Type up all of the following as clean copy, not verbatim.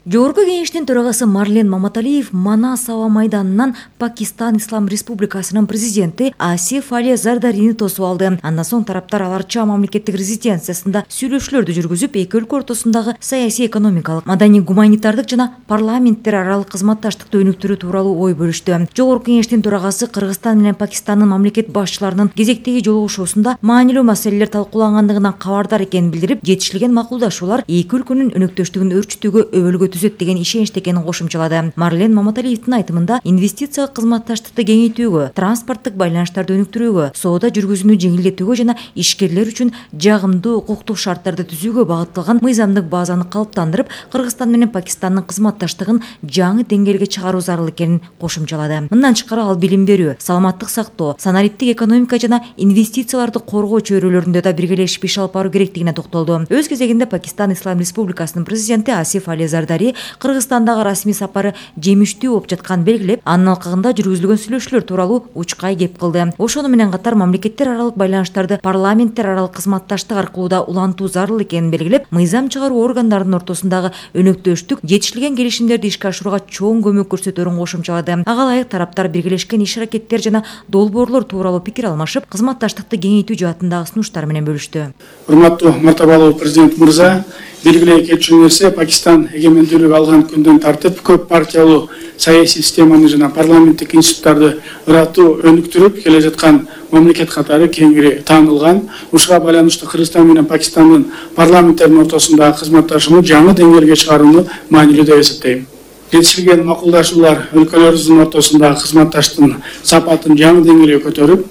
Жогорку кеңештин төрагасы Марлен Маматалиев Манас аба майданынан Пакистан Ислам Республикасынын президенти Асиф Али Зардарини тосуп алды. Андан соң тараптар аларча мамлекеттик резиденциясында сүйлөшүүлөрдү жүргүзүп, эки өлкө ортосундагы саясий, экономикалык, маданий, гуманитардык жана парламенттер аралык кызматташтыкты өнүктүрүү тууралуу ой бөлүштү. Жогорку кеңештин төрагасы Кыргызстан менен Пакистандын мамлекет башчыларынын кезектеги жолугушуусунда маанилүү маселелер талкуулангандыгынан кабардар экенин билдирип, жетишилген макулдашуулар эки өлкөнүн өнөктөштүгүн өрчүтүүгө өбөлгө түзөт деген ишеничте экенин кошумчалады. Марлен Маматалиевдин айтымында инвестициялык кызматташтыкты кеңейтүүгө, транспорттук байланыштарды өнүктүрүүгө, соода жүргүзүүнү жеңилдетүүгө жана ишкерлер үчүн жагымдуу укуктук шарттарды түзүүгө багытталган мыйзамдык базаны калыптандырып, Кыргызстан менен Пакистандын кызматташтыгын жаңы деңгээлге чыгаруу зарыл экенин кошумчалады. Мындан тышкары ал билим берүү, саламаттык сактоо, санариптик экономика жана инвестицияларды коргоо чөйрөлөрүндө да биргелешип иш алып баруу керектигине токтолду. Өз кезегинде Пакистан Ислам Республикасынын президенти Асиф Али Зардари Кыргызстандагы расмий сапары жемиштүү болуп жатканын белгилеп, анын алкагында жүргүзүлгөн сүйлөшүүлөр тууралуу учкай кеп кылды. Ошону менен катар мамлекеттер аралык байланыштарды парламенттер аралык кызматташтык аркылуу да улантуу зарыл экенин белгилеп, мыйзам чыгаруу органдарынын ортосундагы өнөктөштүк жетишилген келишимдерди ишке ашырууга чоң көмөк көрсөтөөрүн кошумчалады. Ага ылайык тараптар биргелешкен иш-аракеттер жана долбоорлор тууралуу пикир алмашып, кызматташтыкты кеңейтүү жаатындагы сунуштар менен бөлүштү. Урматтуу мартабалуу президент мырза, белгилей кетчү нерсе, Пакистан эгемендүүлүк алган күндөн тартып көп партиялуу саясий системаны жана парламенттик институттарды ыраттуу өнүктүрүп келе жаткан мамлекет катары кеңири таанылган. Ушуга байланыштуу Кыргызстан менен Пакистандын парламенттеринин ортосундагы кызматташууну жаңы деңгээлге чыгарууну маанилүү деп эсептейм. Жетишилген макулдашуулар өлкөлөрүбүздүн ортосундагы кызматташтыктын сапатын жаңы деңгээлге көтөрүп,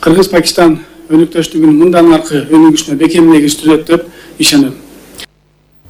Кыргыз-Пакистан өнөктөштүгүнүн мындан аркы өнүгүшүнө бекем негиз түзөт деп ишенем.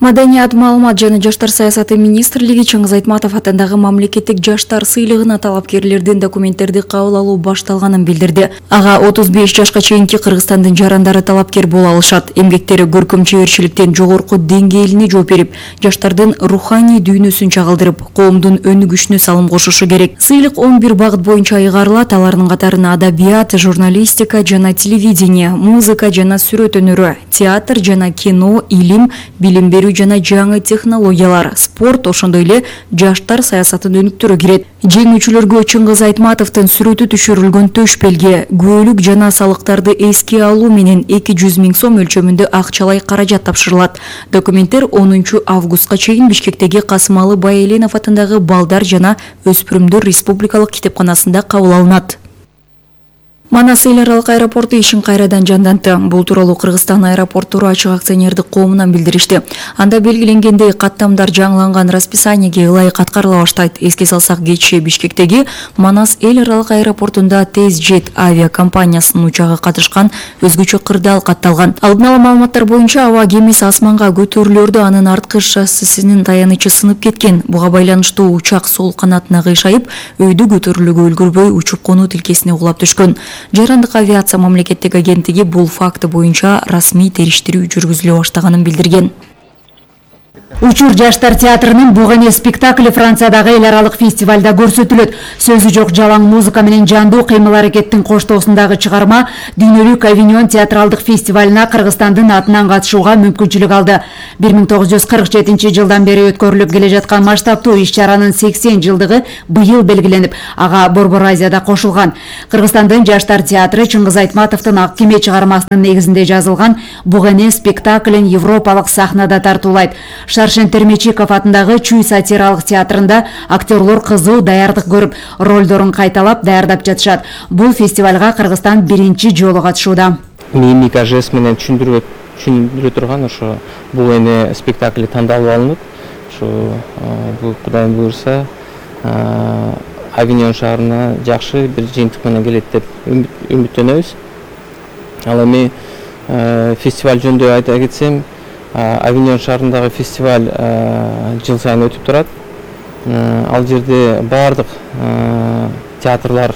Маданият, маалымат жана жаштар саясаты министрлиги Чыңгыз Айтматов атындагы мамлекеттик жаштар сыйлыгына талапкерлердин документтерди кабыл алуу башталганын билдирди. Ага 35 жашка чейинки Кыргызстандын жарандары талапкер боло алышат. Эмгектери көркөм чеберчиликтен жогорку деңгээлине жооп берип, жаштардын руханий дүйнөсүн чагылдырып, коомдун өнүгүшүнө салым кошушу керек. Сыйлык 11 багыт боюнча айгарылат. Алардын катарына адабият, журналистика жана телевидение, музыка жана сүрөт өнөрү, театр жана кино, илим, билим берүү жана жаңы технологиялар, спорт, ошондой эле жаштар саясатын өнүктүрүү кирет. Жеңүүчүлөргө Чыңгыз Айтматовдун сүрөтү түшүрүлгөн төш белге, күбөлүк жана салыктарды эске алуу менен 200 000 сом өлчөмүндө акчалай каражат тапшырылат. Документтер 10 августка чейин Бишкектеги Касымалы Байэленов атындагы Балдар жана өспүрүмдөр республикалык китепканасында кабыл алынат. Манас эл аралык аэропорту ишин кайрадан жандантты. Бул тууралуу Кыргызстан аэропорттору ачык акционердик коомунан билдиришти. Анда белгиленгендей каттамдар жаңыланган расписаниеге ылайык каткарыла баштайт. Эске салсак, кечээ Бишкектеги Манас эл аралык аэропортунда TezJet авиакомпаниясынын учагы катышкан өзгөчө кырдаал катталган. Алдын ала маалыматтар боюнча аба кемеси асманга көтөрүлөөрдө анын арткы шассисинин таянычы сынып кеткен. Буга байланыштуу учак сол канатына кыйшайып, өйдө көтөрүлүүгө үлгүрбөй учуп конуу тилкесине кулап түшкөн. Жарандык авиация мамлекеттик агенттиги бул факты боюнча расмий териштирүү жүргүзүлө баштаганын билдирген. Учур жаштар театрынын Бугане спектакли Франциядагы эл аралык фестивалда көрсөтүлөт. Сөзү жок жалаң музыка менен жандуу кыймыл аракеттин коштоосундагы чыгарма Дүйнөлүк Авиньон театралдык фестивалына Кыргызстандын атынан катышууга мүмкүнчүлүк алды. 1947 жылдан бери өткөрүлүп келе жаткан масштабтуу иш-чаранын 80 жылдыгы быйыл белгиленип, ага Борбор Азияда кошулган. Кыргызстандын жаштар театры Чыңгыз Айтматовдун Ак кеме чыгармасынын негизинде жазылган Бугане спектаклин европалык сахнада тартуулайт. Шаршен Термечиков атындагы Чүй сатиралык театрында актерлор кызуу даярдык көрүп, ролдорун кайталап даярдап жатышат. Бул фестивалга Кыргызстан биринчи жолу катышууда. Мимика, жест менен түшүндүрө турган ошо Бугане спектакли тандалып алынып, ошо бул Кудайым буйрса Авиньон шаарына жакшы бир жыйынтык менен келет деп үмүттөнөбүз. Ал эми фестиваль жөнүндө айта кетсем, Авиньон шаарындагы фестиваль жыл сайын өтүп турат. Ал жерде баардык театрлар,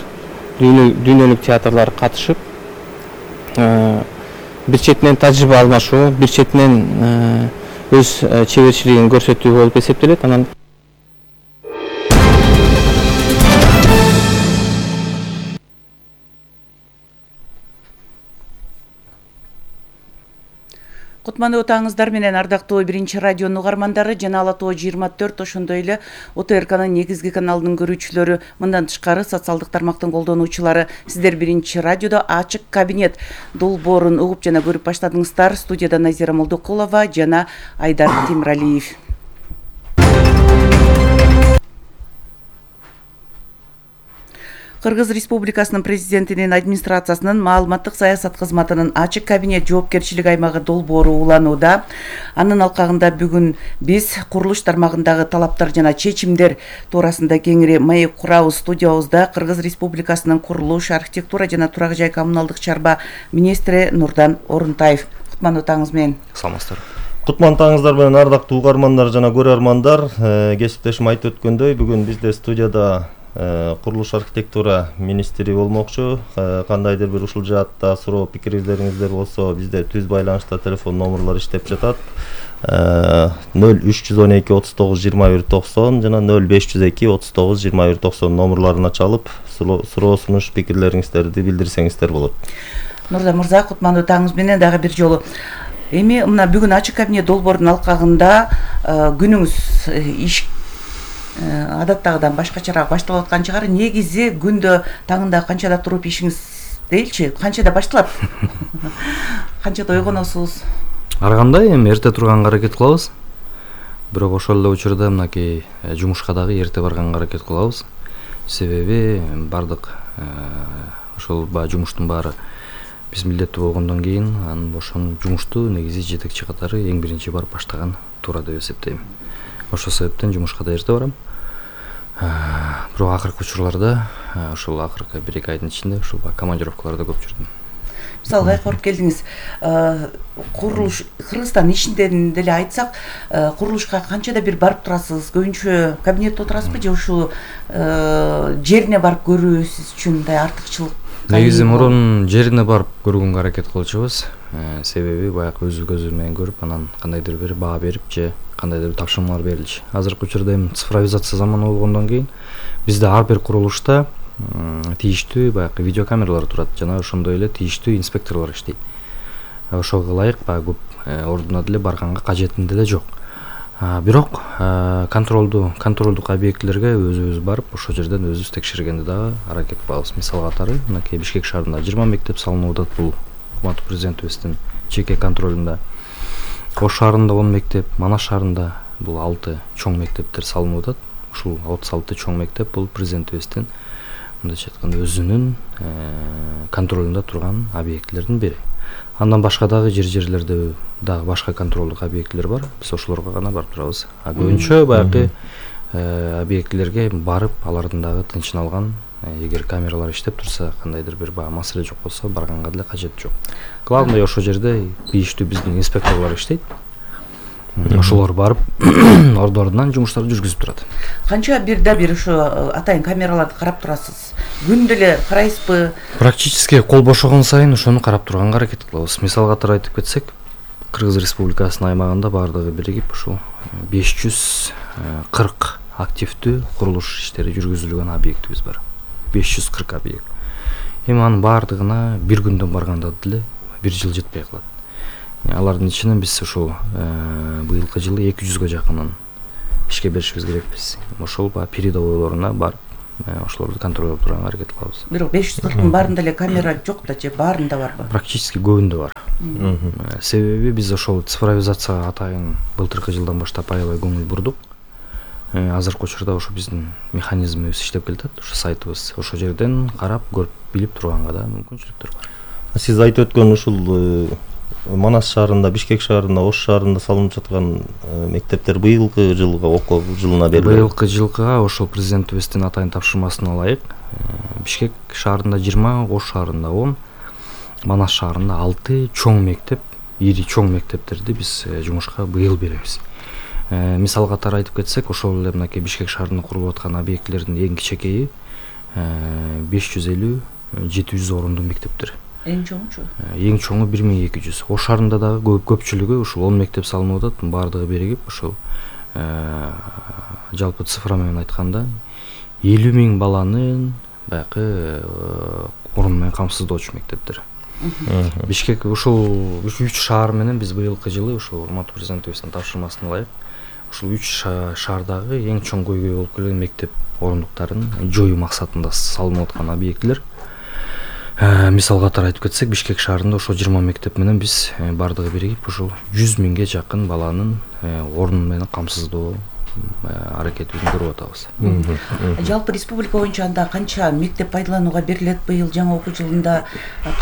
дүйнөлүк театрлар катышып, бир четинен тажрыйба алмашуу, бир четинен өз чеберчилигин көрсөтүү болуп эсептелет. Анан Кутмандуу таңыңыздар менен ардактуу биринчи радионун угармандары жана Ала Тоо 24 ошондой эле ОТРКнын негизги каналынын көрүүчүлөрү, мындан тышкары социалдык тармактын колдонуучулары, сиздер биринчи радиодо ачык кабинет долбоорун угуп жана көрүп баштадыңыздар. Студияда Назира Молдокулова жана Айдар Темиралиев. Кыргыз Республикасынын президентинин администрациясынын маалыматтык саясат кызматынын ачык кабинет жоопкерчилик аймагы долбоору уланууда. Анын алкагында бүгүн биз курулуш тармагындагы талаптар жана чечимдер туурасында кеңири маек курабыз. Студиябызда Кыргыз Республикасынын курулуш, архитектура жана турак жай коммуналдык чарба министри Нурдан Орунтаев. Кутмандуу таңыңыз менен. Саламатсыздар. Кутмандуу таңыңыздар менен ардактуу угармандар жана көрөрмандар. Кесиптешим айтып өткөндөй, бүгүн бизде студияда курулуш архитектура министри болмокчу. Кандайдыр бир ушул жаатта суроо пикириңиздер болсо, бизде түз байланышта телефон номерлор иштеп жатат. 0312 39 21 90 жана 0502 39 21 90 номерларына чалып, суроо сунуш пикирлериңиздерди билдирсеңиздер болот. Нурдан мырза, кутмандуу таңыңыз менен дагы бир жолу. Эми мына бүгүн ачык кабинет долбоорунун алкагында күнүңүз иш адаттагыдан башкачараак башталып аткан чыгар. Негизи күндө таңында канчада туруп ишиңиз дейчи, канчада башталат? Канчада ойгоносуз? Ар кандай эми эрте турганга аракет кылабыз. Бирок ошол эле учурда мынакей жумушка дагы эрте барганга аракет кылабыз. Себеби бардык ошол жумуштун баары биз милдеттүү болгондон кийин анын ошол жумушту негизи жетекчи катары эң биринчи барып баштаган туура деп эсептейм. Ошол себептен жумушка да эрте барам. Бирок акыркы учурларда ошол акыркы 1-2 айдын ичинде ушул командировкаларда көп жүрдүм. Мисалга айкырып келдиңиз. Курулуш Кыргызстан ичинден деле айтсак, курулушка канчада бир барып турасыз? Көбүнчө кабинетте отурасызбы же ушул жерине барып көрүүсүз үчүн мындай артыкчылык? Негизи мурун жерине барып көргөнгө аракет кылчубуз. Себеби баягы өзү көзү менен көрүп, анан кандайдыр бир баа берип же кандайдыр бир тапшырмалар берилчү. Азыркы учурда эми цифровизация заманы болгондон кийин бизде ар бир курулушта тийиштүү баягы видеокамералар турат жана ошондой эле тийиштүү инспекторлор иштейт. Ошого ылайык баягы көп ордуна деле барганга кажетинде деле жок. Бирок контролдук объектилерге өзүбүз барып, ошол жерден өзүбүз текшергенди дагы аракет кылабыз. Мисал катары, мынакей Бишкек шаарында 20 мектеп салынып атат, бул Урматтуу президентибиздин жеке контролунда. Ош шаарында 10 мектеп, Манас шаарында бул 6 чоң мектептер салынып атат. Ушул 36 чоң мектеп бул президентибиздин мындайча айтканда өзүнүн контролунда турган объектилердин бири. Андан башка дагы жерлерде дагы башка контролдук объектилер бар. Биз ошолорго гана барып турабыз. Көбүнчө баягы объектилерге барып, алардын дагы тынчын алган, эгер камералар иштеп турса, кандайдыр бир маселе жок болсо, барганга деле кажет жок. Главное ошол жерде тийиштүү биздин инспекторлор иштейт. Ошолор барып ордорунан жумуштарды жүргүзүп турат. Канча бирде бир ушу атайын камераларды карап турасыз? Күндө эле карайсызбы? Практически кол бошогон сайын ошону карап турганга аракет кылабыз. Мисал катары айтып кетсек, Кыргыз Республикасынын аймагында бардыгы биригип ушул 540 активдүү курулуш иштери жүргүзүлгөн объектибиз бар. 540 объект. Эми анын бардыгына бир күндөн барганда деле 1 жыл жетпей калат. Алардын ичинен биз ушул быйылкы жылы 200гө жакынын ишке беришибиз керекпиз. Ошол передовойлоруна барып, ошолорду контролдоп турганга аракет кылабыз. Бирок 540-тын баарында эле камера жок да же баарында барбы? Практически көбүндө бар. Себеби биз ошол цифровизацияга атайын былтыркы жылдан баштап аябай көңүл бурдук. Азыркы учурда ошо биздин механизмибиз иштеп келатат, ошо сайтыбыз. Ошо жерден карап, көрүп, билип турганга да мүмкүнчүлүктөр бар. Сиз айтып өткөн ушул Манас шаарында, Бишкек шаарында, Ош шаарында салынып жаткан мектептер быйылкы жылга окуу жылына берилди. Быйылкы жылга ошол президентибиздин атайын тапшырмасына ылайык Бишкек шаарында 20, Ош шаарында 10, Манас шаарында 6 чоң мектеп, ири чоң мектептерди биз жумушка быйыл беребиз. Мисал катары айтып кетсек, ошол эле мынакей Бишкек шаарында курулуп аткан объектилердин эң кичекейи 550-700 орундуу мектептер. Эң чоңучу? Эң чоңу 1200. Ош шаарында дагы көпчүлүгү ушул 10 мектеп салынып атат, бардыгы биригип ушул жалпы цифра менен айтканда 50 000 баланын баягы орун менен камсыздоочу мектептер. Бишкек ушул 3 шаар менен биз быйылкы жылы ушул урматтуу президентибиздин тапшырмасына ылайык ушул 3 шаардагы эң чоң көйгөй болуп келген мектеп орундуктарын жоюу максатында салынып аткан объектилер. Мисал катары айтып кетсек, Бишкек шаарында ошо 20 мектеп менен биз бардыгы биригип ушул 100 миңге жакын баланын орун менен камсыздоо аракетибизди көрүп атабыз. Жалпы республика боюнча анда канча мектеп пайдаланууга берилет быйыл жаңы окуу жылында,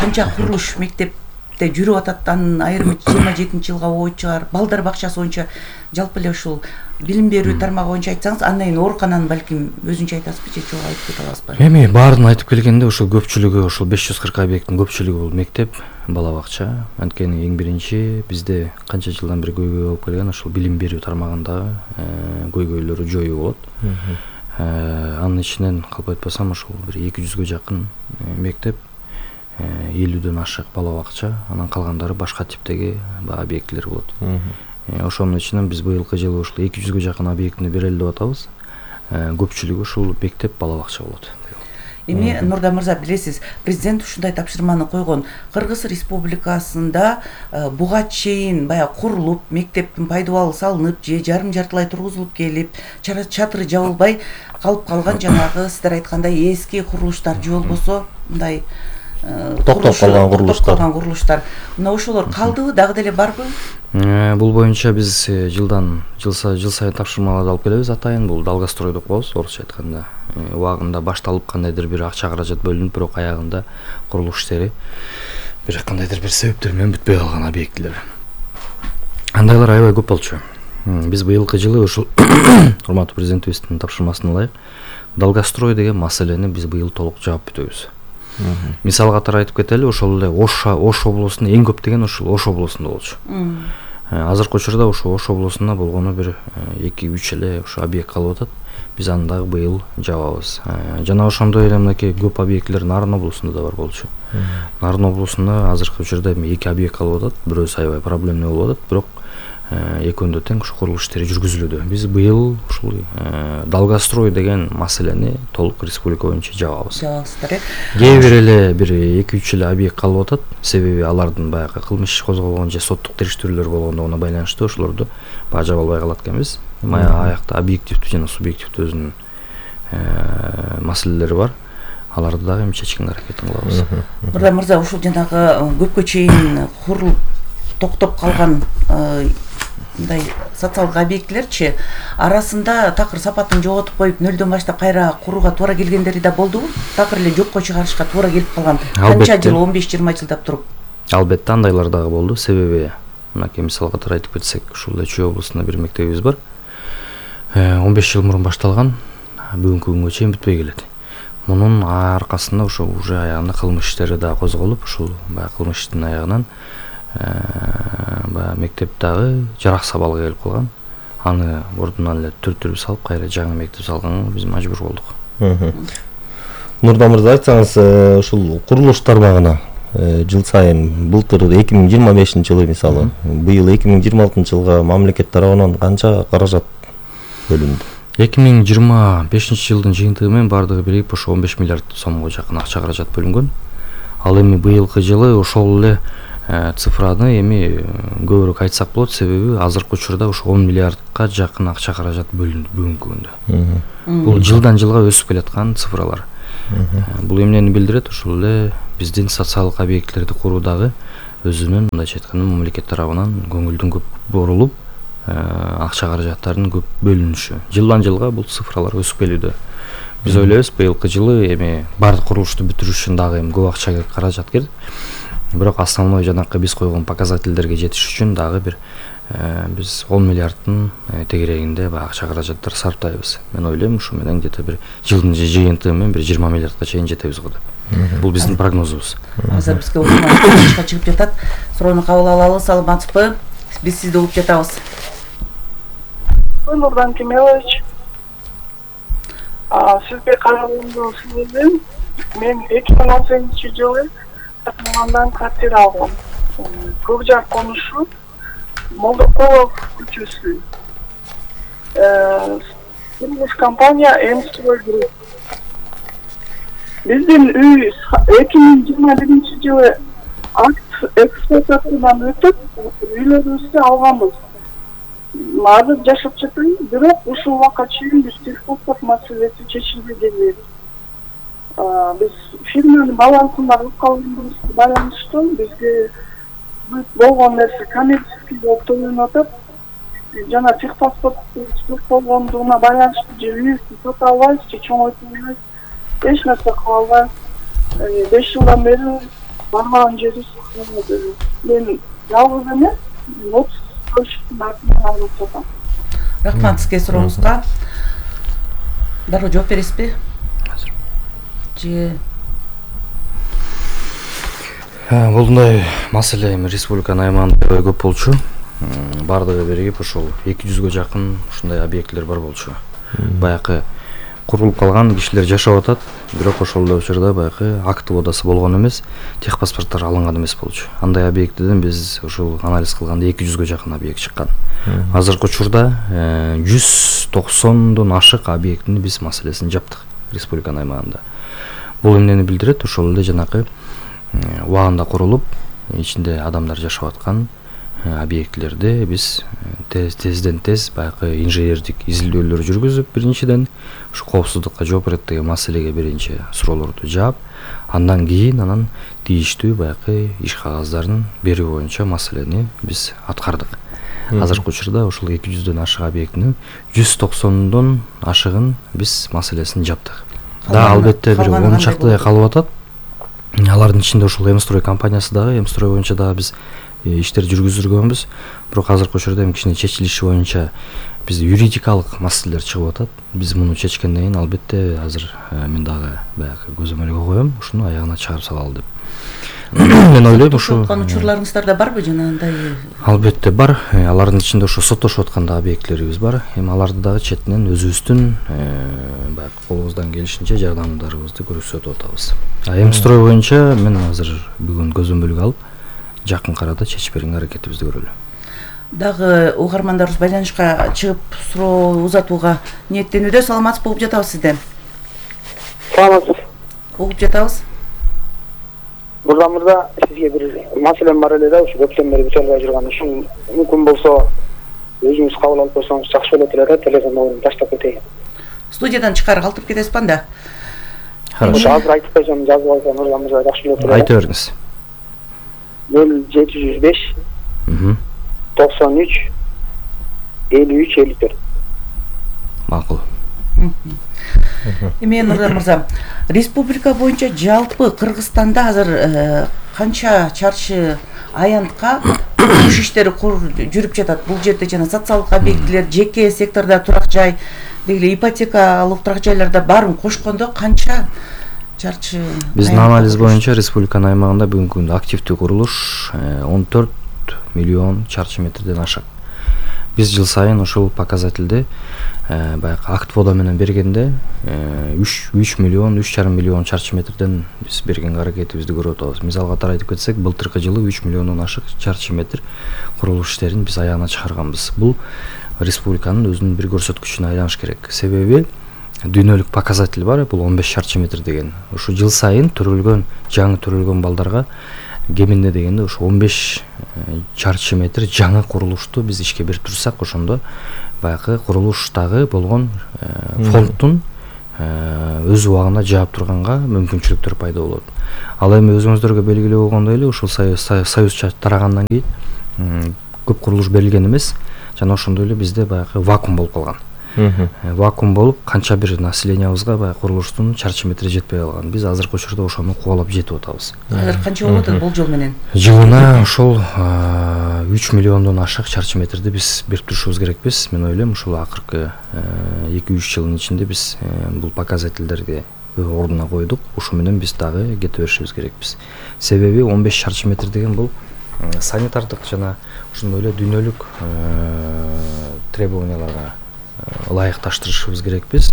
канча курулуш мектепте жүрүп атат, анын айрымы 27-жылга болчу чыгар. Балдар бакчасы боюнча жалпы эле ушул билим берүү тармагы боюнча айтсаңыз, андан кийин оорукананы балким өзүнчө айтасызбы же жок айтып кете аласызбы? Эми баарын айтып келгенде ушул көпчүлүгү ушул 540 объекттин көпчүлүгү бул мектеп, бала бакча. Анткени эң биринчи бизде канча жылдан бери көйгөй болуп келген ушул билим берүү тармагындагы көйгөйлөрү жоюу болот. Анын ичинен калп айтпасам ушул бир 200гө жакын мектеп, 50дөн ашык бала бакча, анан калгандары башка типтеги объектилер болот. Ошонун ичинен биз быйылкы жылы ушул 200гө жакын объектини берели деп атабыз. Көпчүлүгү ушул мектеп, бала бакча болот. Эми Нурдан мырза, билесиз, президент ушундай тапшырманы койгон. Кыргыз Республикасында буга чейин баягы курулуп, мектептин пайдубалы салынып же жарым-жартылай тургузулуп келип, чатыры жабылбай калып калган жанагы сиздер айткандай эски курулуштар же болбосо мындай токтоп калган курулуштар. Мына ошолор калдыбы, дагы деле барбы? Бул боюнча биз жыл сайын тапшырмаларды алып келебиз атайын. Бул долгострой деп коебуз, орусча айтканда. Убагында башталып кандайдыр бир акча каражат бөлүнүп, бирок аягында курулуш иштери бир кандайдыр бир себептер менен бүтпөй калган объектилер. Андайлар аябай көп болчу. Биз быйылкы жылы ушул урматтуу президентибиздин тапшырмасына ылайык долгострой деген маселени биз быйыл толук жаап бүтөбүз. Мисал катары айтып кетели, ошол эле Ош облусунда эң көп деген ушул Ош облусунда болчу. Азыркы учурда ошо Ош облусунда болгону бир 2-3 эле ошо объект калып атат. Биз аны дагы быйыл жабабыз. Жана ошондой эле мынакей көп объектилер Нарын облусунда да бар болчу. Нарын облусунда азыркы учурда 2 объект калып атат. Бирөөсү аябай проблемный болуп атат, бирок экөөндө тең ушу курулуш иштери жүргүзүлүүдө. Биз быйыл ушул долгострой деген маселени толук республика боюнча жабабыз. Кээ бир эле бир 2-3 эле объект калып атат. Себеби алардын баягы кылмыш иши козголгон же соттук териштирүүлөр болгондугуна байланыштуу ошолорду жаба албай калат экенбиз. Аякта объективдүү жана субъективдүү өзүнүн маселелери бар. Аларды дагы эми чечкенге аракетин кылабыз. Нурдан мырза, ушул жанагы көпкө чейин курулуп токтоп калган мындай социалдык объектилерчи арасында такыр сапатын жоготуп коюп, нөлдөн баштап кайра курууга туура келгендери да болдубу? Такыр эле жокко чыгарышка туура келип калган. Канча жыл, 15-20 жылдап туруп? Албетте андайлар дагы болду. Себеби мынакей мисал катары айтып кетсек, ушул Чүй облусунда бир мектебибиз бар. 15 жыл мурун башталган, бүгүнкү күнгө чейин бүтпөй келет. Мунун аркасында ошо уже аягында кылмыш иштери да козголуп, ушул баягы кылмыш иштин аягынан мектеп дагы жарак сабалга келип калган. Аны ордунан эле түртүрүп салып, кайра жаңы мектеп салганга биз мажбур болдук. Нурдан мырза, айтсаңыз, ушул курулуш тармагына жыл сайын былтыр 2025-жылы мисалы, быйыл 2026-жылга мамлекет тарабынан канча каражат бөлүндү? 2025-жылдын жыйынтыгы менен бардыгы биригип ошо 15 миллиард сомго жакын акча каражат бөлүнгөн. Ал эми быйылкы жылы ошол эле цифраны эми көбүрөөк айтсак болот, себеби азыркы учурда ошо 10 миллиардка жакын акча каражат бөлүндү бүгүнкү күндө. Бул жылдан жылга өсүп келаткан цифралар. Бул эмнени билдирет? Ушул эле биздин социалдык объектилерди куруудагы өзүнүн мындайча айтканда мамлекет тарабынан көңүлдүн көп бурулуп, акча каражаттардын көп бөлүнүшү. Жылдан жылга бул цифралар өсүп келүүдө. Биз ойлойбуз, быйылкы жылы эми бардык курулушту бүтүрүш үчүн дагы эми көп акча керек, каражат керек. Бирок основной жанакы биз койгон показательдерге жетиш үчүн дагы бир биз 10 миллиарддын тегерегинде акча каражаттар сарптайбыз. Мен ойлойм, ушу менен где-то бир жылдын жыйынтыгы менен бир 20 миллиардка чейин жетебиз го деп. Бул биздин прогнозубуз. Азыр бизге учурда чыгып жатат. Суроону кабыл алалы, саламатсызбы? Биз сизди угуп жатабыз. Нурдан Кемелович, сизге каралгандуу сөзүм, мен 2018-жылы Татмандан квартира алгам. Көкжар конушу, Молдокулов көчөсү. Курулуш компания М-строй групп. Биздин үй 2021-жылы акт эксплуатациядан өтүп үйлөрүбүздү алганбыз. Азыр жашап жатабыз, бирок ушул убакка чейин биз техпаспорт маселеси чечилбей келбейт. Биз фирманын балансында калып калганыбызга байланыштуу бизге болгон нерсе коммерческий болуп төлөнүп атат. Жана техпаспорт болгондугуна байланыштуу же үйүбүздү сата албайбыз, же чоңойто албайбыз. Эч нерсе кыла албайбыз. 5 жылдан бери барган жерибиз калды. Мен жалгыз эмес, 30 көчтүн артынан алып жатам. Рахмат сизге сурооңузга. Дароо жооп бересизби? Же Булундай маселе эми республиканын аймагында көп болчу. Бардыгы биригип ошол 200гө жакын ушундай объектилер бар болчу. Баягы курулуп калган кишилер жашап атат, бирок ошол эле учурда баягы актив одасы болгон эмес, техпаспорттор алынган эмес болчу. Андай объектиден биз ушул анализ кылганда 200гө жакын объект чыккан. Азыркы учурда 190дон ашык объектини биз маселесин жаптык республиканын аймагында. Бул эмнени билдирет? Ошол эле жанакы убагында курулуп, ичинде адамдар жашап аткан объектилерди биз тезден тез баягы инженердик изилдөөлөр жүргүзүп, биринчиден ушу коопсуздукка жооп берет деген маселеге биринчи суроолорду жаап, андан кийин анан тийиштүү баягы иш кагаздарын берүү боюнча маселени биз аткардык. Азыркы учурда ушул 200дөн ашык объектинин 190дон ашыгын биз маселесин жаптык. Да, албетте бир 10 чактай калып атат. Алардын ичинде ушул Эмстрой компаниясы дагы, Эмстрой боюнча дагы биз иштер жүргүзүргөнбүз. Бирок азыркы учурда эми кичине чечилиши боюнча бизде юридикалык маселелер чыгып атат. Биз муну чечкенден кийин албетте азыр мен дагы баягы көзөмөлгө коем, ушуну аягына чыгарып салалы деп. Мен ойлойм ушу учурларыңыздарда барбы жанагындай? Албетте бар. Алардын ичинде ушу соттошуп аткан да объектилерибиз бар. Эми аларды дагы четинен өзүбүздүн баягы колубуздан келишинче жардамдарыбызды көрсөтүп атабыз. Эмстрой боюнча мен азыр бүгүн көзөмөлгө алып, жакын арада чечип берүүгө аракетибизди көрөлү. Дагы угармандарыбыз байланышка чыгып суроо узатууга ниеттенүүдө. Саламатсыз болуп жатабыз сизден. Саламатсыз. Угуп жатабыз. Мырза, сизге бир маселем бар эле да, ушу көптөн бери бүтө албай жүргөн. Ушул мүмкүн болсо өзүңүз кабыл алып койсоңуз жакшы болот эле да, телефон номерин таштап кетейин. Студиядан чыкары калтырып кетесиз анда? Хорошо. Азыр айтып койсом, жазып алсам мырза жакшы болот эле. Айта бериңиз. 0705 93 53 54. Макул. Эми Нурдан мырза, республика боюнча жалпы Кыргызстанда азыр канча чарчы аянтка курулуш иштери жүрүп жатат? Бул жерде жана социалдык объектилер, жеке сектордо турак жай, деги ипотекалык турак жайларда баарын кошкондо канча чарчы? Биздин анализ боюнча республиканын аймагында бүгүнкү күндө активдүү курулуш 14 миллион чарчы метрден ашат. Биз жыл сайын ушул показательди баягы актвода менен бергенде 3 миллион, 3,5 миллион чарчы метрден биз бергенге аракетибизди көрүп атабыз. Мисалга катары айтып кетсек, былтыркы жылы 3 миллиондон ашык чарчы метр курулуш иштерин биз аягына чыгарганбыз. Бул республиканын өзүнүн бир көрсөткүчүнө айланыш керек. Себеби дүйнөлүк показатель бар, бул 15 чарчы метр деген. Ушу жыл сайын жаңы төрөлгөн балдарга кеминде дегенде ушу 15 чарчы метр жаңы курулушту биз ишке берип турсак, ошондо баягы курулуштагы болгон фонддун өз убагында жаап турганга мүмкүнчүлүктөр пайда болот. Ал эми өзүңүздөргө белгилүү болгондой эле ушул союз тарагандан кийин көп курулуш берилген эмес, жана ошондой эле бизде баягы вакуум болуп калган. Вакуум болуп, канча бир населениябызга баягы курулуштун чарчы метри жетпей калган. Биз азыркы учурда ошону кубалап жетип атабыз. Азыр канча болуп атат болжол менен? Жылына ошол 3 миллиондон ашык чарчы метрди биз берип турушубуз керекпиз. Мен ойлойм, ушул акыркы 2-3 жылдын ичинде биз бул показательдерди ордуна койдук. Ушу менен биз дагы кете беришибиз керекпиз. Себеби 15 чарчы метр деген бул санитардык жана ошондой эле дүйнөлүк требованияларга ылайыкташтырышыбыз керекпиз.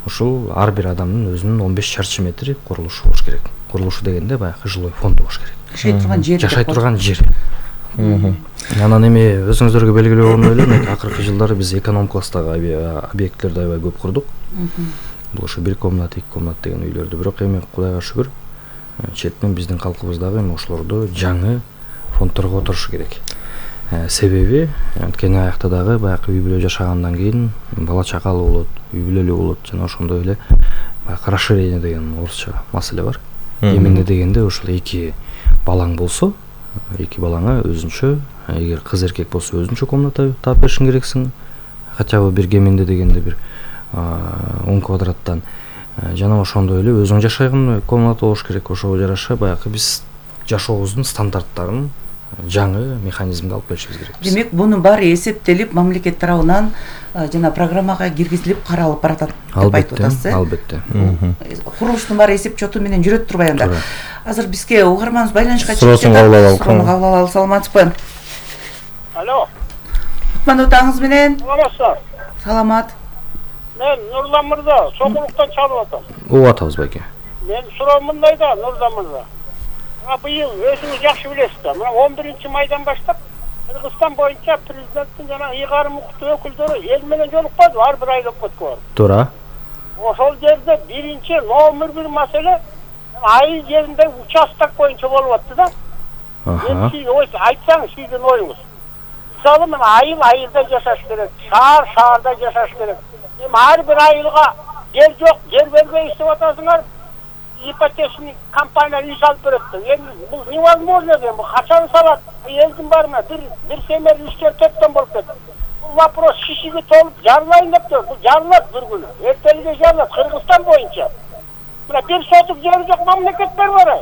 Ушул ар бир адамдын өзүнүн 15 чарчы метри курулушу болуш керек. Курулушу дегенде баягы жилой фонду болуш керек. Жашай турган жер. Анан эми өзүңүздөргө белгилүү болгондой эле, акыркы жылдары биз эконом класстагы объектилерди аябай көп курдук. Бул ушу 1 комнат, 2 комнат деген үйлөрдү. Бирок эми Кудайга шүгүр, четинен биздин калкыбыз дагы эми ошолорду жаңы фондторго отурушу керек. Себеби анткени аякта дагы баягы үй бүлө жашагандан кийин бала чакалуу болот, үй бүлөлүү болот жана ошондой эле баягы расширение деген орусча маселе бар. Эмне дегенде ошол 2 балаң болсо, 2 балаңа өзүнчө, эгер кыз эркек болсо өзүнчө комната таап беришиң керексиң. Хотя бы бир кеминде дегенде бир 10 квадраттан жана ошондой эле өзүң жашайган комната болуш керек. Ошого жараша баягы биз жашообуздун стандарттарын жаңы механизмге алып келишибиз керек. Демек, бунун баары эсептелип, мамлекет тарабынан жана программага киргизилип каралып баратат деп айтып атасыз. Албетте. Курулуштун баары эсеп чоту менен жүрөт турбай анда. Азыр бизге угарманыбыз байланышка чыгып кетти. Суроону кабыл алалы, саламатсызбы? Алло. Кутмандуу таңыңыз менен. Саламатсыздар. Саламат. Мен Нурлан мырза, Сокулуктан чалып атам. Угуп атабыз байке. Мен суроом мындай да, Нурлан мырза. Быйыл өзүңүз жакшы билесиз да, мына 11-майдан баштап Кыргызстан боюнча президенттин жана ыйгарым укуктуу өкүлдөрү эл менен жолукпады, ар бир айлап өткөн. Туура. Ошол жерде биринчи номер 1 маселе айыл жеринде участок боюнча болуп атты да. Сиз айтсаңыз сиздин оюңуз. Мисалы мен айылда жашаш керек, шаарда жашаш керек. Эми ар бир айылга жер жок, жер бербейбиз деп атасыңар. Ипотечный компания үй салып берет. Эми бул невозможно экен, бул качан салат? Элдин баарына бир семер 3-4 болуп кетти. Бул вопрос шишиге толуп жарылайын деп тур. Бул жарылат бир күнү. Эртелге жарылат Кыргызстан боюнча. Мына бир сотук жери жок мамлекеттер бар.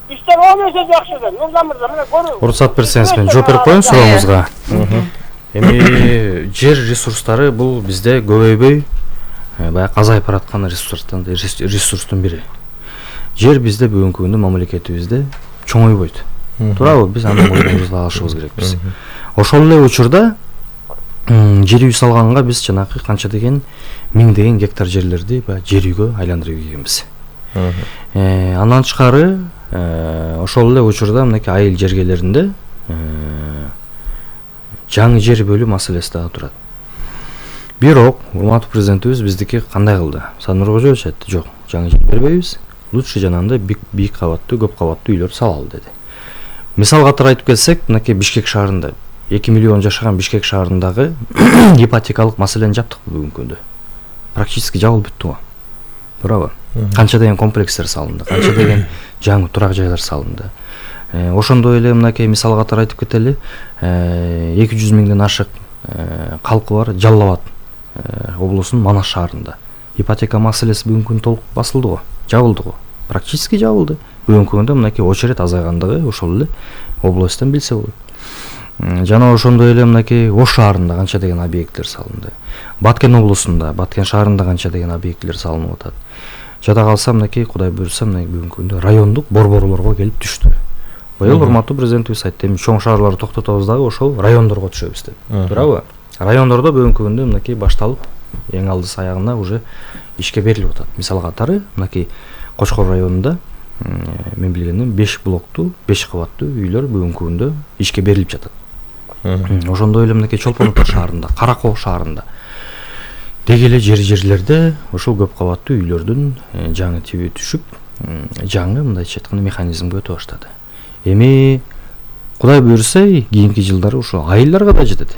Бизден 10 эсе жакшы да. Нурлан мырза, мына көрүңүз. Уруксат берсеңиз мен жооп берип коеюн суроңузга. Эми жер ресурстары бул бизде көбөйбөй баягы азайып бараткан ресурстун бири. Жер бизде бүгүнкү күндө мамлекетибизде чоңойбойт. Туурабы? Биз аны мойнубузга алышыбыз керекпиз. Ошол эле учурда жер үй салганга биз жанагы канча деген миңдеген гектар жерлерди жер үйгө айландырып ийгенбиз. Андан тышкары ошол эле учурда мынакей айыл жергелеринде жаңы жер бөлүү маселеси дагы турат. Бирок урматтуу президентибиз биздики кандай кылды? Нуркожоевич айтты, жок, жаңы жер бербейбиз. Лучше жанагындай бийик кабаттуу, көп кабаттуу үйлөр салалы деди. Мисал катары айтып келсек, мынакей Бишкек шаарында 2 миллион жашаган Бишкек шаарындагы ипотекалык маселени жаптык бүгүнкү күндө. Практически жабылып бүттү го. Туурабы? Канча деген комплекстер салынды, канча деген жаңы турак жайлар салынды. Ошондой эле мынакей мисал катары айтып кетели, 200 миңден ашык калкы бар Жалал Абад облусунун Манас шаарында. Ипотека маселеси бүгүнкү күндө толук басылды го, жабылды го. Практически жабылды. Бүгүнкү күндө мынакей очередь азайгандыгы ошол эле областтан билсе болот. Жана ошондой эле мынакей Ош шаарында канча деген объекттер салынды. Баткен облусунда, Баткен шаарында канча деген объекттер салынып атат. Жада калса мынакей Кудай буйрса бүгүнкү күндө райондук борборлорго келип түштү. Быйыл урматтуу президентибиз айтты, эми чоң шаарларды токтотобуз дагы ошол райондорго түшөбүз деп. Туурабы? Райондордо бүгүнкү күндө мынакей башталып, эң алдысы аягына уже ишке берилип атат. Мисал катары мынакей Кочкор районунда мен билгенден 5 блоктуу, 5 кабаттуу үйлөр бүгүнкү күндө ишке берилип жатат. Ошондой эле мынакей Чолпон Ата шаарында, Каракоо шаарында деги эле жерлерде ошол көп кабаттуу үйлөрдүн жаңы тиби түшүп, жаңы мындайча айтканда механизмге өтө баштады. Эми Кудай буйрса, кийинки жылдары ошо айылдарга да жетет.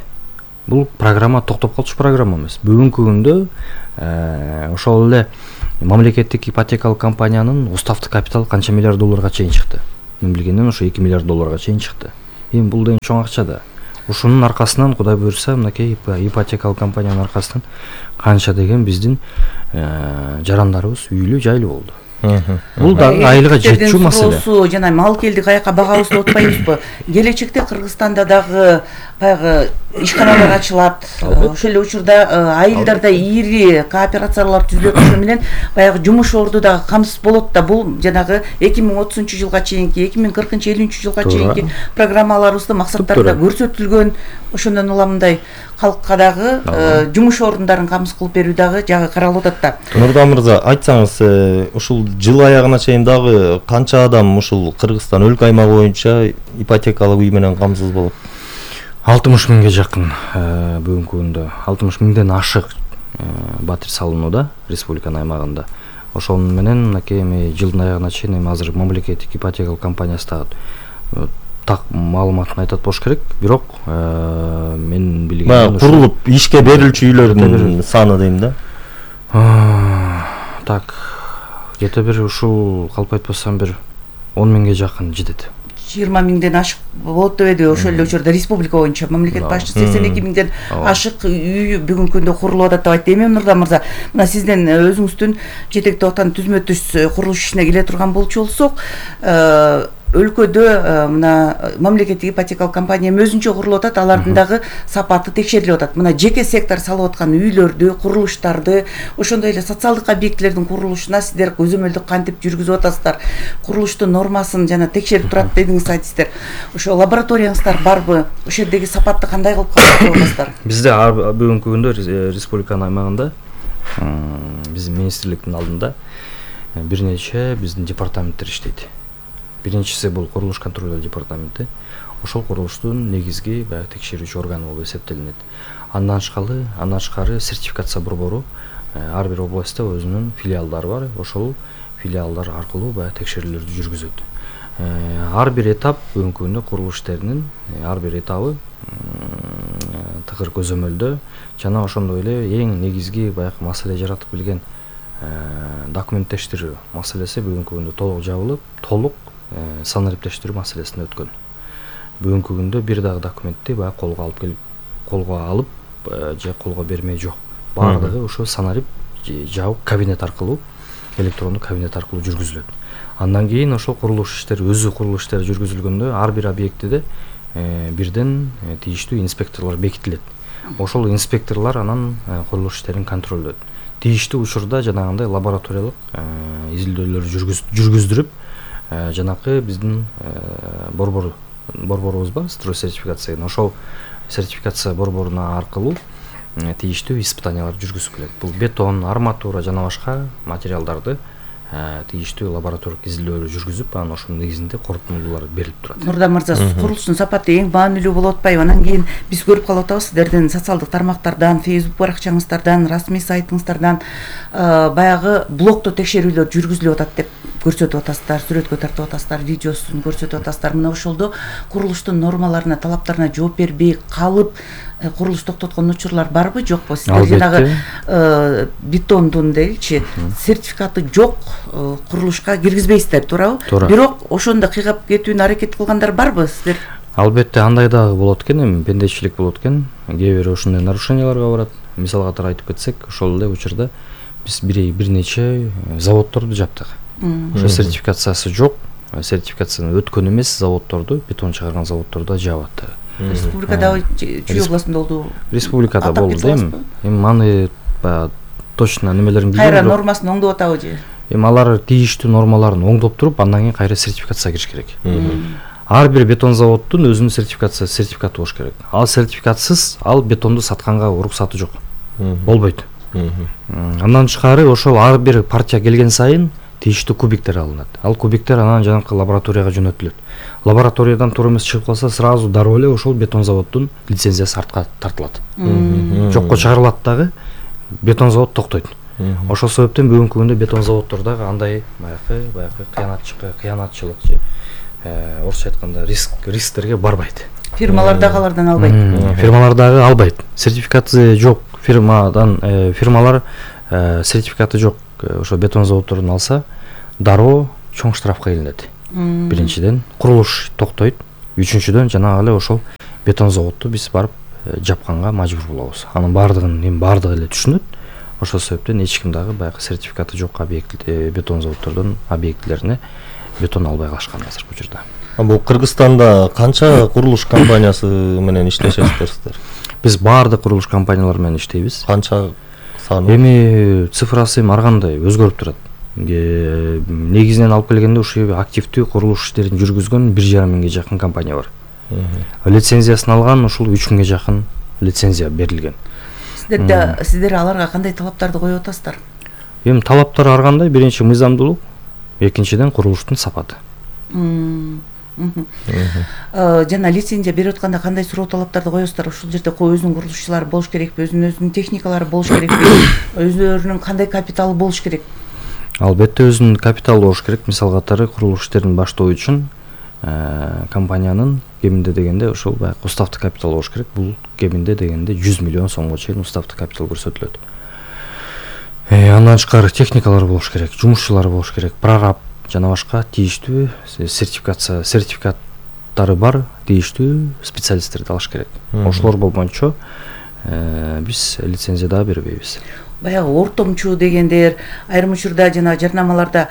Бул программа токтоп калчу программа эмес. Бүгүнкү күндө ошол эле мамлекеттик ипотекалык компаниянын уставдык капиталы канча миллиард долларга чейин чыкты. Мен билгенден ошо 2 миллиард долларга чейин чыкты. Эми бул деген чоң акча да. Ушунун аркасынан Кудай буйрса, мынакей ипотекалык компаниянын аркасынан канча деген биздин жарандарыбыз үйлүү жайлуу болду. Бул дагы айылга жетчү маселе. Жана мал келди каяка багабызды отпайбызбы? Келечекте Кыргызстанда дагы баягы ишканалар ачылат. Ошол эле учурда айылдарда ири кооперациялар түзүлөт, ошо менен баягы жумуш орду дагы камсыз болот да. Бул жанагы 2030-жылга чейинки, 2040-50 жылга чейинки программаларыбызда максаттарда көрсөтүлгөн. Ошондон уламындай калкка дагы жумуш орундарын камсыз кылып берүү дагы жагы каралып атат да. Нурдан мырза, айтсаңыз, ушул жыл аягына чейин дагы канча адам ушул Кыргызстан өлкө аймагы боюнча ипотекалык үй менен камсыз болот? 60 миңге жакын бүгүнкү күндө 60 миңден ашык батир салынууда республиканын аймагында. ошол менен мынакей эми жылдын аягына чейин эми азыр мамлекеттик ипотекалык компаниясы дагы так маалыматын айтат болуш керек, бирок мен билгеним курулуп ишке берилчү үйлөрдүн саны дейм да. Так, где-то бир ушул калп айтпасам бир 10 миңге жакын жетет. 20 миңден ашык болот деп эди ошол эле учурда республика боюнча мамлекет башчысы 82 миңден ашык үй бүгүнкү күндө курулуп атат деп айтты. Эми Нурдан мырза, мына сиздин өзүңүздүн жетектеп аткан түзмө түз курулуш ишине келе турган болчу болсок, өлкөдө мына мамлекеттик ипотекалык компания өзүнчө курулуп атат, алардын дагы сапаты текшерилип атат. Мына жеке сектор салып аткан үйлөрдү, курулуштарды, ошондой эле социалдык объектилердин курулушуна сиздер көзөмөлдүк кантип жүргүзүп атасыздар? Курулуштун нормасын жана текшерип турат дедиңиз, айтсыздар. Ошо лабораторияңыздар барбы? Ошол жердеги сапатты кандай кылып калып атасыздар? Бизде бүгүнкү күндө республиканын аймагында биздин министрликтин алдында бир нече биздин департаменттер иштейт. Биринчиси бул курулуш контролдоо департаменти. Ошол курулуштун негизги баягы текшерүүчү органы болуп эсептелинет. Андан тышкары сертификация борбору ар бир областта өзүнүн филиалдары бар. Ошол филиалдар аркылуу баягы текшерүүлөрдү жүргүзөт. Ар бир этап бүгүнкү күндө курулуш иштеринин ар бир этабы тыгыр көзөмөлдө жана ошондой эле эң негизги баягы маселе жаратып келген документтештирүү маселеси бүгүнкү күндө толук жабылып, толук санариптештирүү маселесине өткөн. Бүгүнкү күндө бир дагы документти баягы колго алып же колго бермей жок. Баардыгы ошо санарип жабык кабинет аркылуу, электрондук кабинет аркылуу жүргүзүлөт. Андан кийин ошол курулуш иштери, өзү курулуш иштери жүргүзүлгөндө ар бир объектиде бирден тийиштүү инспекторлор бекитилет. Ошол инспекторлор анан курулуш иштерин контролдойт. Тийиштүү учурда жанагындай лабораториялык изилдөөлөрдү жүргүздүрүп, жанакы биздин борборубуз бар, строй сертификация деген. Ошол сертификация борборуна аркылуу тийиштүү испытаниялар жүргүзүп келет. Бул бетон, арматура жана башка материалдарды тийиштүү лабораториялык изилдөөлөр жүргүзүп, анан ошонун негизинде корутундулар берилип турат. Нурдан мырза, курулуштун сапаты эң маанилүү болуп атпайбы? Анан кийин биз көрүп калып атабыз сиздердин социалдык тармактардан, Facebook баракчаңыздардан, расмий сайтыңыздардан баягы блокто текшерүүлөр жүргүзүлүп атат деп көрсөтүп атасыздар, сүрөткө тартып атасыздар, видеосун көрсөтүп атасыздар. Мына ошолдо курулуштун нормаларына, талаптарына жооп бербей калып курулуш токтоткон учурлар барбы, жокпу? Сиздер жанагы бетондун дейчи сертификаты жок курулушка киргизбейсиздер, туурабы? Бирок ошондо кыйгап кетүүнү аракет кылгандар барбы сиздер? Албетте андай дагы болот экен, эми пендечилик болот экен. Кээ бир ошондой нарушенияларга барат. Мисал катары айтып кетсек, ошол эле учурда биз бир нече заводдорду жаптык. Ошо сертификациясы жок, сертификацияны өткөн эмес заводдорду, бетон чыгарган заводдорду жабат. Республикада чүй областында болду? Республикада болду эми. Эми аны точно немелерин билбейм. Кайра нормасын оңдоп атабы же? Эми алар тийиштүү нормаларын оңдоп туруп, андан кийин кайра сертификацияга кириш керек. Ар бир бетон заводдун өзүнүн сертификаты болуш керек. Ал сертификатсыз ал бетонду сатканга уруксаты жок. Болбойт. Андан тышкары ошол ар бир партия келген сайын тийиштүү кубиктер алынат. Ал кубиктер анан жанакы лабораторияга жөнөтүлөт. Лабораториядан туура эмес чыгып калса, сразу дароо эле ошол бетон заводдун лицензиясы артка тартылат. Жокко чыгарылат дагы, бетон завод токтойт. Ошол себептен бүгүнкү күндө бетон заводдордогу андай баягы кыянатчылык же орусча айтканда рисктерге барбайт. Фирмалар дагы алардан албайт. Фирмалар дагы албайт. Сертификаты жок фирмалар сертификаты жок ошо бетон заводдордун алса, дароо чоң штрафка илинет. Биринчиден курулуш токтойт, үчүнчүдөн жанагы эле ошол бетон заводду биз барып жапканга мажбур болобуз. Анын баардыгы эле түшүнөт. Ошол себептен эч ким дагы баягы сертификаты жок бетон заводдордун объектилерине бетон албай калышкан азыркы учурда. Бул Кыргызстанда канча курулуш компаниясы менен иштешесиздер сиздер? Биз баардык курулуш компаниялар менен иштейбиз. Канча саны? Эми цифрасы ар кандай өзгөрүп турат. Негизинен алып келгенде ушу активдүү курулуш иштерин жүргүзгөн 1,5 миңге жакын компания бар. Лицензиясын алган ушул 3 миңге жакын лицензия берилген. Сиздер аларга кандай талаптарды коюп атасыздар? Эми талаптар ар кандай, биринчи мыйзамдуулук, экинчиден курулуштун сапаты. Жана лицензия берип атканда кандай суроо талаптарды коесуздар? Ушул жерде өзүнүн курулушчулары болуш керекпи, өзүнүн техникалары болуш керекпи, өздөрүнүн кандай капиталы болуш керек? Албетте өзүнүн капиталы болуш керек. Мисал катары курулуш иштерин баштоо үчүн компаниянын кеминде дегенде ошол баягы уставдык капитал болуш керек. Бул кеминде дегенде 100 миллион сомго чейин уставдык капитал көрсөтүлөт. Андан тышкары техникалар болуш керек, жумушчулар болуш керек, прораб жана башка тийиштүү сертификаттары бар тийиштүү специалисттерди алыш керек. Ошолор болбойнчо биз лицензия да бербейбиз. Баягы ортомчу дегендер айрым учурда жана жарнамаларда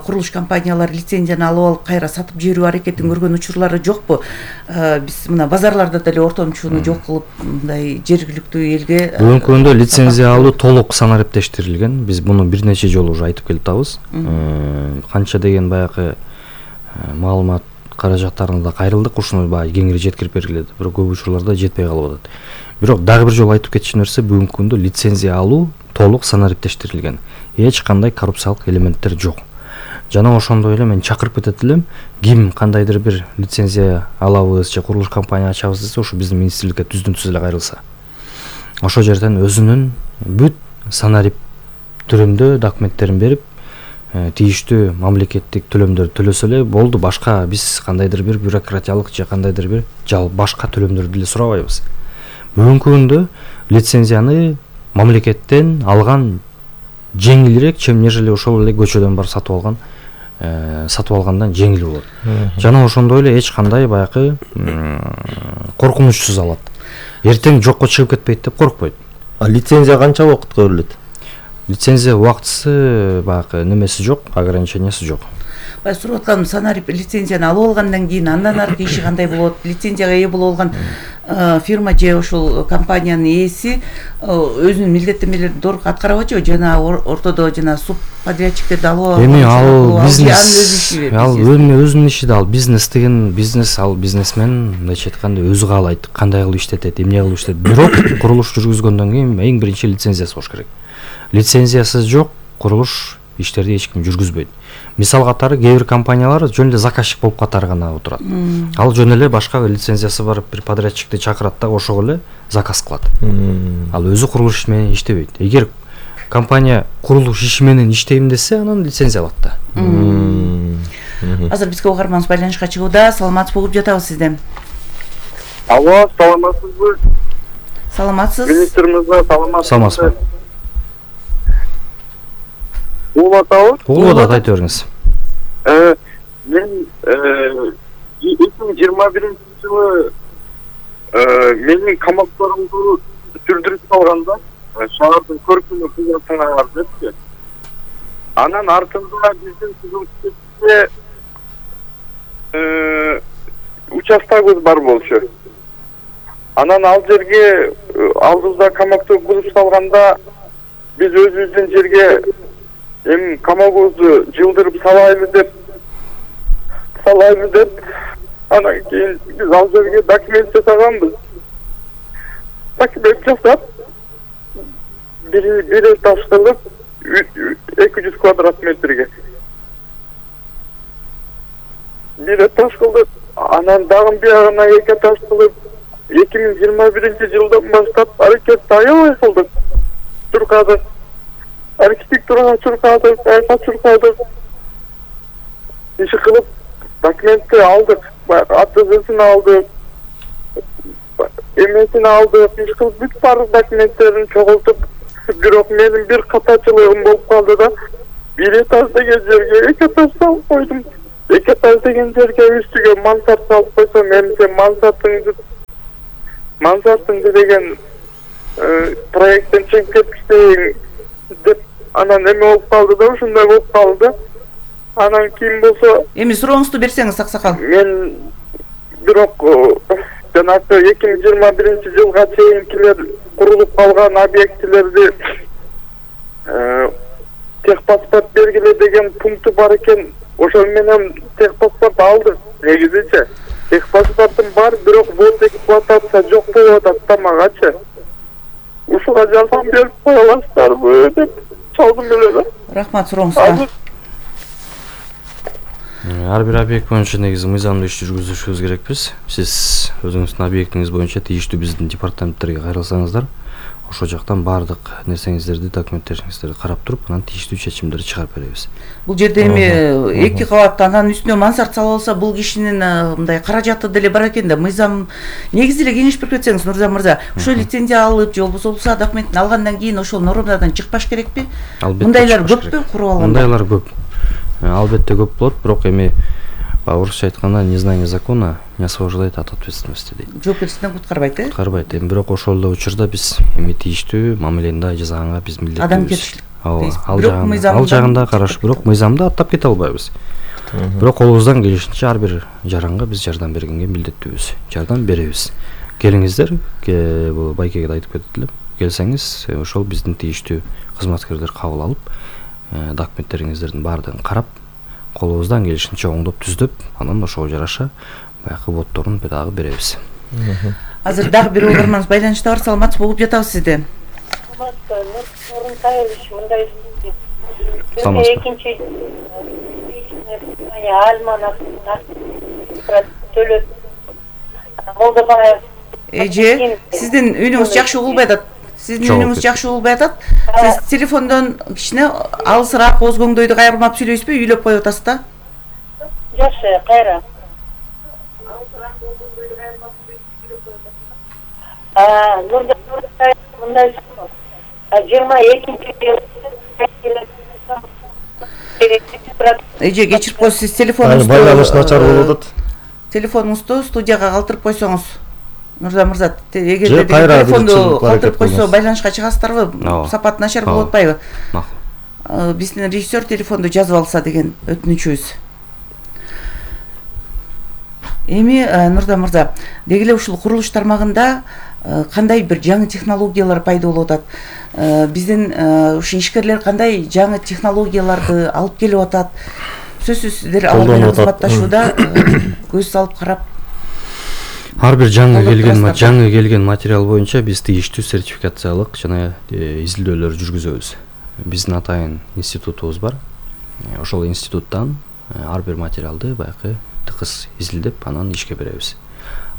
курулуш компаниялары лицензияны алып алып кайра сатып жиберүү аракетин көргөн учурлары жокпу? Биз мына базарларда деле ортомчуну жок кылып мындай жергиликтүү элге бүгүнкү күндө лицензия алуу толук санариптештирилген. Биз муну бир нече жолу уже айтып келатабыз. Канча деген баягы маалымат каражаттарына да кайрылдык, ушуну баягы кеңири жеткирип бергиле, бирок көп учурларда жетпей калып атат. Бирок дагы бир жолу айтып кетчү нерсе, бүгүнкү күндө лицензия алуу толук санариптештирилген. Эч кандай коррупциялык элементтер жок. Жана ошондой эле мен чакырып кетет элем, ким кандайдыр бир лицензия алабыз же курулуш компания ачабыз десе, ошо биздин министрликке түздөн-түз эле кайрылса. Ошол жерден өзүнүн бүт санарип түрүндө документтерин берип, тийиштүү мамлекеттик төлөмдөрдү төлөсө эле болду. Башка биз кандайдыр бир бюрократиялык же кандайдыр бир башка төлөмдөрдү деле сурабайбыз. Бүгүнкү күндө лицензияны мамлекеттен алган жеңилирээк, нежели ошол эле көчөдөн барып сатып алгандан жеңил болот. Жана ошондой эле эч кандай баягы коркунучсуз алат. Эртең жокко чыгып кетпейт деп коркпойт. Лицензия канча убакытка берилет? Лицензия убактысы баягы немеси жок, ограничениясы жок. Сурап атканым, санарип лицензияны алып алгандан кийин андан аркы иши кандай болот? Лицензияга ээ боло алган фирма же ошол компаниянын ээси өзүнүн милдеттенмелерин толук аткарып атчыбы? Жана ортодо жана субподрядчиктерди алып алып эми ал бизнес, ал өзүнүн иши да, ал бизнес деген бизнес, ал бизнесмен мындайча айтканда өзү каалайт кандай кылып иштетет, эмне кылып иштетет. Бирок курулуш жүргүзгөндөн кийин эң биринчи лицензиясы болуш керек. Лицензиясыз жок курулуш иштерди эч ким жүргүзбөйт. Мисал катары кээ бир компаниялар жөн эле заказчик болуп катары гана отурат. Ал жөн эле башка лицензиясы бар бир подрядчикти чакырат да ошого эле заказ кылат. Ал өзү курулуш иши менен иштебейт. Эгер компания курулуш иши менен иштейм десе, анан лицензия алат да. Азыр бизге угарманыбыз байланышка чыгууда. Саламатсыз угуп жатабыз сизден. Алло, саламатсызбы? Саламатсыз. Министр мырза, саламатсызбы? Угуп атабыз? Угуп атат, айта бериңиз. Мен 2021-жылы менин камактарымды сүрдүрүп салганда шаардын көркүнө кызматына депчи. Анан артында биздин сүрдүрүштө участогубуз бар болчу. Анан ал жерге алдыбызда камакты кузуп салганда биз өзүбүздүн жерге эми камагыбызды жылдырып салайлы деп анан кийин биз ал жерге документ жасаганбыз. Документ жасап бир этаж кылып 200 квадрат метрге бир этаж кылдык. Анан дагы биягына 2 этаж кылып 2021-жылдан баштап аракетти аябай кылдык. Чуркадык, архитектурага чуркадык, айка чуркадык. Иши кылып документти алдык, АТЗсин алдык, эмесин алдык, иш кылып бүт баардык документтерин чогултуп, бирок менин бир катачылыгым болуп калды да, бир этаж деген жерге 2 этаж салып койдум. 2 этаж деген жерге үстүгө мансард салып койсом, эми сен мансардыңды деген проекттен чыгып кеткичтейин деп анан эме болуп калды да, ушундай болуп калды. Анан кийин болсо эми сурооңузду берсеңиз, аксакал. Мен бирок жанагы 2021-жылга чейинкилер курулуп калган объектилерди техпаспорт бергиле деген пункту бар экен. Ошол менен техпаспорт алдык. Негизичи техпаспортум бар, бирок вот эксплуатация жок болуп атат тамагачы. Ушуга жардам берип кое аласыздарбы деп чалдым эле да. Рахмат сурооңузга. Ар бир объект боюнча негизи мыйзамдуу иш жүргүзүшүбүз керекпиз. Сиз өзүңүздүн объектиңиз боюнча тийиштүү биздин департаменттерге кайрылсаңыздар, ошол жактан баардык нерсеңиздерди, документтериңиздерди карап туруп, анан тийиштүү чечимдерди чыгарып беребиз. Бул жерде эми 2 кабат анан үстүнө мансард салып алса, бул кишинин мындай каражаты деле бар экен да. Мыйзам негизи эле кеңеш берип кетсеңиз, Нурзан мырза, ошо лицензия алып же болбосо булса документин алгандан кийин ошол нормадан чыкпаш керекпи? Мындайлар көппү куруп алганда? Мындайлар көп. Албетте көп болот, бирок эми орусча айтканда незнание закона не освобождает от ответственности дейт. Жоопкерчиликтен куткарбайт, Куткарбайт. Эми бирок ошол эле учурда биз эми тийиштүү мамилени жасаганга биз милдеттүүбүз. Адамгерчилик. Ал жагында караш, бирок мыйзамды аттап кете албайбыз. Бирок колубуздан келишинче ар бир жаранга биз жардам бергенге милдеттүүбүз. Жардам беребиз. Келиңиздер, бул байкеге да айтып кетип элем. Келсеңиз, ошол биздин тийиштүү кызматкерлер кабыл алып, документтериңиздердин баардыгын карап, колубуздан келишинче оңдоп түздөп, анан ошого жараша баягы боддорун дагы беребиз. Азыр дагы бир угарманыбыз байланышта бар. Саламатсыз болуп жатабыз сизди. Мындай экинчи төлөп Молдобаев эже, сиздин үнүңүз жакшы угулбай атат. Сиз телефондон кичине алысыраак өзгөңдөйдү кайрылмап сүйлөйсүзбү? Үйлөп коюп атасыз да? Жакшы, кайра. Мындай 22-жыл эже кечирип коюңуз, сиз телефонуңузду байланыш начар болуп атат. Телефонуңузду студияга калтырып койсоңуз. Нурзан мырза, эгерде телефонду калтырып койсо байланышка чыгасыздарбы? Сапат начар болуп атпайбы? Биздин режиссер телефонду жазып алса деген өтүнүчүбүз. Эми Нурзан мырза, деги эле ушул курулуш тармагында кандай бир жаңы технологиялар пайда болуп атат? Биздин ушу ишкерлер кандай жаңы технологияларды алып келип атат? Сөзсүз сиздер алар менен кызматташууда көз салып карап, ар бир жаңы келген материал боюнча биз тийиштүү сертификациялык жана изилдөөлөр жүргүзөбүз. Биздин атайын институтубуз бар. Ошол институттан ар бир материалды баягы тыкыз изилдеп, анан ишке беребиз.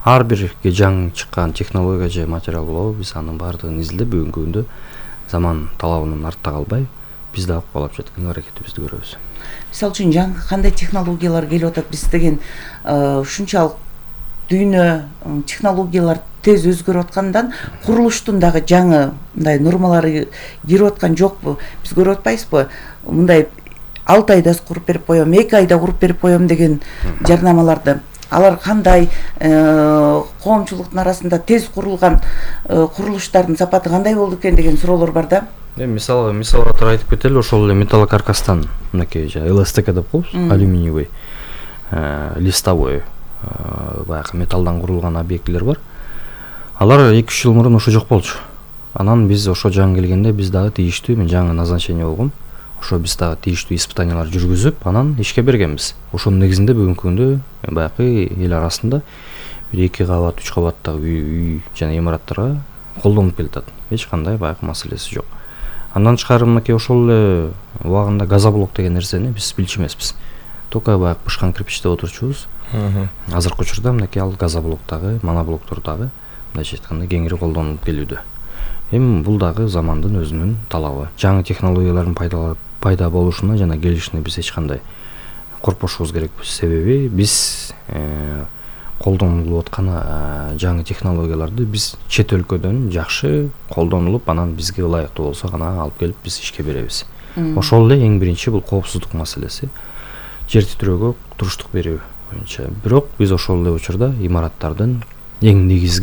Ар бир жаңы чыккан технология же материал болобу, биз анын баардыгын изилдеп, бүгүнкү күндө заман талабынан артта калбай, биз дагы кубалап жаткан аракетибизди көрөбүз. Мисалы үчүн жаңы кандай технологиялар келип атат? Биз деген ушунчалык дүйнө технологиялар тез өзгөрүп аткандан курулуштун дагы жаңы мындай нормалары кирип аткан жокпу? Биз көрүп атпайбызбы? Мындай 6 айда куруп берип коем, 2 айда куруп берип коем деген жарнамаларды. Алар кандай, коомчулуктун арасында тез курулган курулуштардын сапаты кандай болду экен деген суроолор бар да. Мисалга тура айтып кетели, ошол эле металлокаркастан, мынакей ЛСТК деп коебуз, алюминиевый, листовой, баягы металлдан курулган объектилер бар. Алар 2-3 жыл мурун ошо жок болчу. Анан биз ошо жаңы келгенде биз дагы тийиштүү, мен жаңы назначение болгом. Ошо биз дагы тийиштүү испытаниялар жүргүзүп, анан ишке бергенбиз. Ошонун негизинде бүгүнкү күндө баягы эл арасында 1-2 кабат, 3 кабаттагы үй жана имараттарга колдонуп келатат. Эч кандай баягы маселеси жок. Андан тышкары мынакей ошол эле убагында газоблок деген нерсени биз билчү эмеспиз. Только баягы бышкан кирпичте отурчубуз. Азыркы учурда мынакей ал газоблоктогу, моноблоктордогу мындайча айтканда кеңири колдонулуп келүүдө. Эми бул дагы замандын өзүнүн талабы. Жаңы технологиялардын пайда болушуна жана келишине биз эч кандай коркпошубуз керекпиз. Себеби биз колдонулуп аткан жаңы технологияларды биз чет өлкөдөн жакшы колдонулуп, анан бизге ылайыктуу болсо гана алып келип биз ишке беребиз. Ошол эле эң биринчи бул коопсуздук маселеси. Жер титирөөгө туруштук берүү боюнча. Бирок биз ошол эле учурда имараттардын эң негизги